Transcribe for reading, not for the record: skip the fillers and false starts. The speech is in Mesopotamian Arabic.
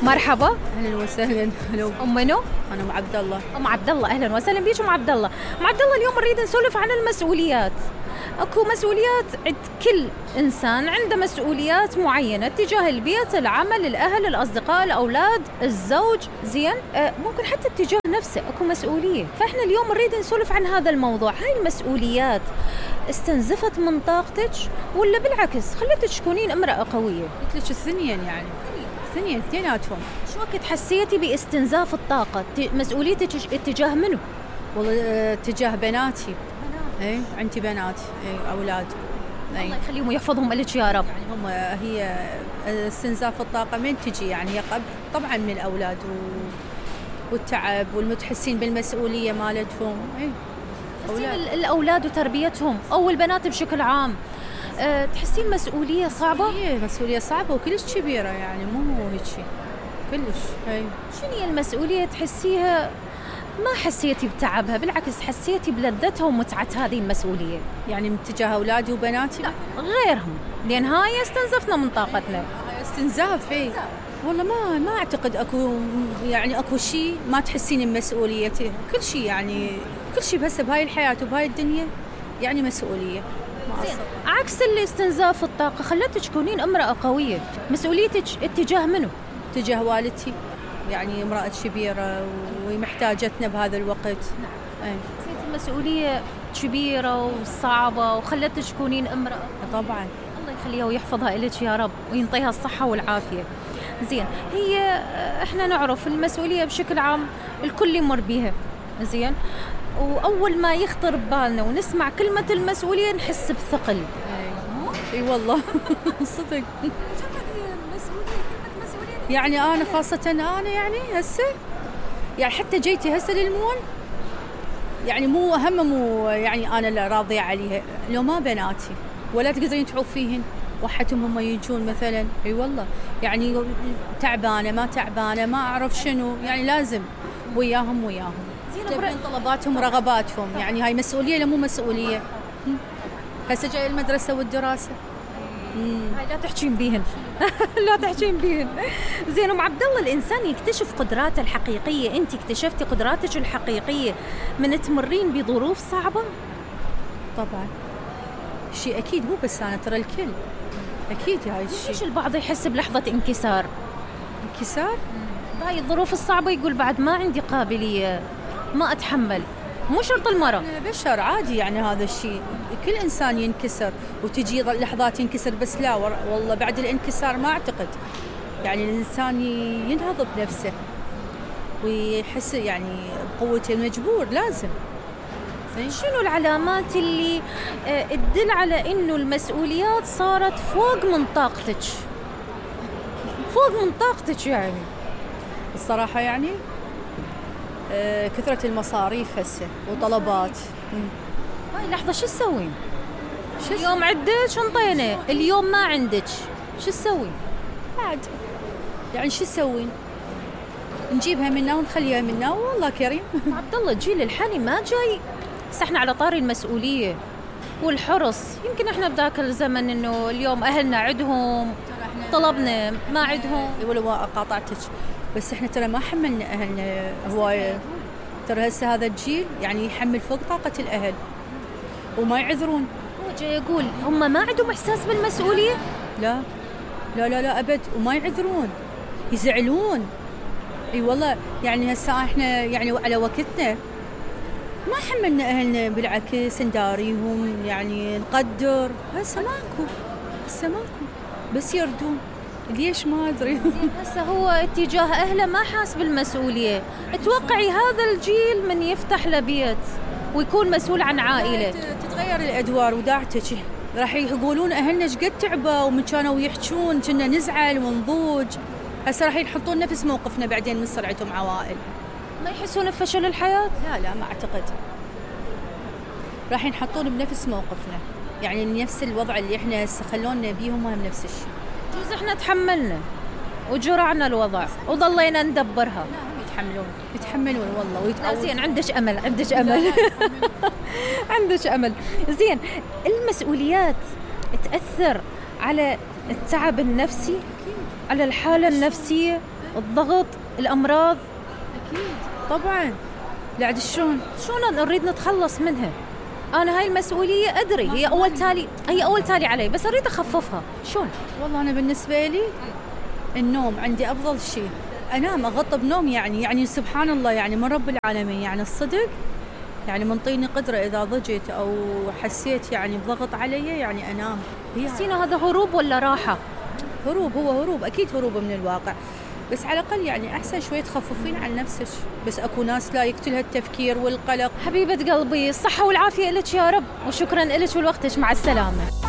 مرحبا. اهلا وسهلا. هلو. ام منو؟ انا ام عبد الله. ام عبد الله، اهلا وسهلا بيك ام عبد الله. ام عبد الله، اليوم نريد نسولف عن المسؤوليات. اكو مسؤوليات عند كل انسان، عنده مسؤوليات معينه تجاه البيت، العمل، الاهل، الاصدقاء، الاولاد، الزوج، زين؟ ممكن حتى تجاه نفسه اكو مسؤوليه، فاحنا اليوم نريد نسولف عن هذا الموضوع. هاي المسؤوليات استنزفت من طاقتك ولا بالعكس خلتك تكونين امراه قويه؟ قلت لك الثنين، يعني الثنين اثنيناتهم. شو وقت حسيتي باستنزاف الطاقه؟ مسؤوليتك اتجاه منو؟ والله تجاه بناتي. اي عندي بنات، اي اولاد. الله يخليهم ويحفظهم لك يا رب. يعني هم هي استنزاف الطاقه من تجي، يعني هي طبعا من الاولاد والتعب والمتحسين بالمسؤوليه مالتهم. اي الاولاد وتربيتهم او البنات بشكل عام، تحسين مسؤوليه صعبه؟ هي مسؤوليه صعبه وكلش كبيره، يعني مو هيك شيء كلش. هي شنو هي المسؤوليه تحسيها ما حسيتي بتعبها، بالعكس حسيتي بلذتها ومتعة هذه المسؤولية؟ يعني من تجاه أولادي وبناتي؟ لا غيرهم، لأن هاي استنزفنا من طاقتنا. استنزاف. اي والله ما أعتقد أكو شيء ما تحسين بمسؤوليته. كل شيء، يعني كل شيء بس بهاي الحياة وبهاي الدنيا يعني مسؤولية. عكس اللي استنزاف الطاقة خلتك تكونين امرأة قوية. مسؤوليتك اتجاه منو؟ تجاه والدتي، يعني امرأة كبيرة ومحتاجتنا بهذا الوقت. نعم. المسؤولية كبيرة وصعبة وخلتك تكونين امرأة. طبعا. الله يخليها ويحفظها إليك يا رب وينطيها الصحة والعافية. زين، هي احنا نعرف المسؤولية بشكل عام الكل يمر بيها، زين، وأول ما يخطر ببالنا ونسمع كلمة المسؤولية نحس بثقل. اي والله صدق. يعني أنا خاصة أنا يعني هسه يعني حتى جيتي هسه للمول، يعني مو يعني أنا اللي راضية عليها، لو ما بناتي ولا تقدرين تعوفيهن وحتهم هم يجون مثلا. اي والله يعني تعبانة ما تعبانة ما أعرف شنو، يعني لازم وياهم تبين طلباتهم ورغباتهم. يعني هاي مسؤولية لا مو مسؤولية؟ هسه جاي المدرسة والدراسة. هاي لا تحكين بيهن لا تحكين بيهن. زين ام عبد الله، الانسان يكتشف قدراته الحقيقيه. انت اكتشفتي قدراتك الحقيقيه من تمرين بظروف صعبه؟ طبعا شيء اكيد، مو بس انا، ترى الكل اكيد هاي الشيء. ليش البعض يحس بلحظه انكسار؟ بهاي الظروف الصعبه يقول بعد ما عندي قابليه، ما اتحمل. مو شرط المرض، بشر عادي، يعني هذا الشيء كل إنسان ينكسر وتجي لحظات ينكسر، بس لا والله بعد الانكسار ما أعتقد، يعني الإنسان ينهض بنفسه ويحس يعني بقوته المجبور لازم. شنو العلامات اللي تدل على إنه المسؤوليات صارت فوق من طاقتك؟ فوق من طاقتك يعني؟ الصراحة يعني كثرة المصاريف هسه وطلبات. هاي لحظة شو تسوين؟ اليوم عندك انطينا، اليوم ما عندك، شو تسوين؟ بعد يعني شو تسوين؟ نجيبها منا ونخليها منا والله كريم. عبد الله الجيل الحالي ما جاي. بس احنا على طاري المسؤولية والحرص، يمكن احنا بذاك الزمن انه اليوم اهلنا عندهم طلبنا ما عندهم. ولو قاطعتك، بس احنا ترى ما حملنا اهلنا هوايه. ترى هسه هذا الجيل يعني يحمل فوق طاقه الاهل وما يعذرون. هو جاي يقول هم ما عندهم احساس بالمسؤوليه؟ لا لا لا لا ابد، وما يعذرون، يزعلون. اي والله يعني هسه احنا يعني على وقتنا ما حملنا اهلنا، بالعكس نداريهم، يعني نقدر. هسه ماكو بس يردون. ليش ما أدري. هسه هو اتجاه أهله ما حاس بالمسؤولية. اتوقعي هذا الجيل من يفتح له بيت ويكون مسؤول عن عائلة تتغير الأدوار وداعتك. راح يقولون أهلنا شقد تعبوا ومن كانوا يحجون كنا نزعل ونضوج. هسه راح يحطون نفس موقفنا بعدين من سرعتهم عوائل. ما يحسون بفشل الحياة؟ لا ما أعتقد. راح ينحطون بنفس موقفنا، يعني نفس الوضع اللي احنا هسه خلونا بيهم هم نفس الشيء. جوز احنا تحملنا وجرعنا الوضع وضلينا ندبرها. يتحملون والله ويتقوون. زين عندك امل عندك امل. زين، المسؤوليات تأثر على التعب النفسي، على الحالة النفسية؟ الضغط، الأمراض. أكيد طبعاً. بعد شلون نريد نتخلص منها؟ أنا هاي المسؤولية أدري هي أول تالي علي، بس أريد أخففها. شلون؟ والله أنا بالنسبة لي النوم عندي أفضل شيء. أنام أغطى بنوم، يعني سبحان الله، يعني من رب العالمين، يعني الصدق، يعني منطيني قدرة إذا ضجت أو حسيت يعني بضغط علي يعني أنام. سينا هذا هروب ولا راحة؟ هروب، هو هروب، أكيد هروب من الواقع، بس على الأقل يعني أحسن شوي تخففين عن نفسك. بس أكو ناس لا يقتلها التفكير والقلق. حبيبة قلبي، الصحة والعافية لك يا رب، وشكرا لك ولوقتك، مع السلامة.